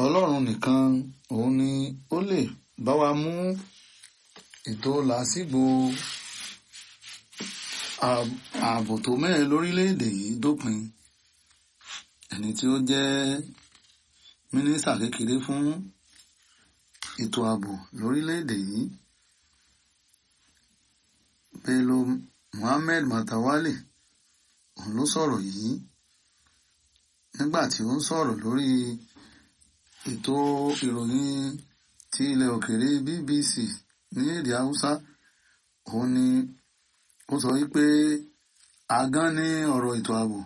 Ọlọ́run nìkan òun ni ó lè bá wa mú ètò làásìgbò ààbò tó mẹ́hẹ lórílẹ̀-èdè yìí dópin. Ẹni tí ó jẹ́ mínísítà kékeré fún ètò ààbò lórílẹ̀-èdè yìí, Bello Muhammad Matawalle, òun ló sọ̀rọ̀ yìí nígbà tí ó ń sọ̀rọ̀ lórí ètò ìròyìn ti ilẹ̀ òkèèrè BBC ní èdè Haúsá. Òun ni ó sọ wípé àgán ní ọ̀rọ̀ ètò ààbò.